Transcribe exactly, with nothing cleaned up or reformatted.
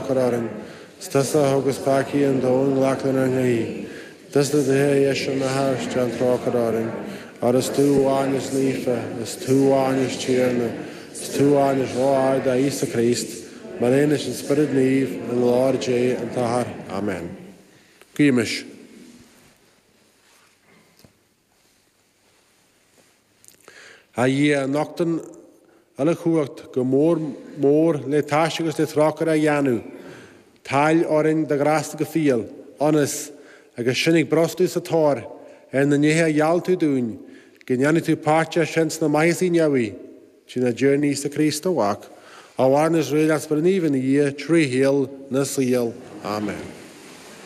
trócaire orainn. Is tusa a thugas peacaí an domhain glac lenár nguí. Tusa do dheis an Athar, déan trócaire orainn. Óir is tú amháin is naofa, is tú amháin is Tiarna, is tú amháin is ró-ard, a Íosa Críost, mar aon leis an Spiorad Naomh, i nglóir Dé an tAthair. Amen. Guímis. A Dhia, a nochtann uile chumhacht go mór mór le taise agus le trócaire a dhéanamh, toil orainn do ghrásta go fial, ionas, agus sinn ag brostú sa tóir ar na nithe a gheall tú dúinn, go ndéanfaidh tú páirteach sinn sna maitheasaí neamhaí, trínár dTiarna Íosa Críost, do Mhac, a mhaireann is réidh leat Spiorad Naomh ina Dhia, trí shaol na saol. Amen.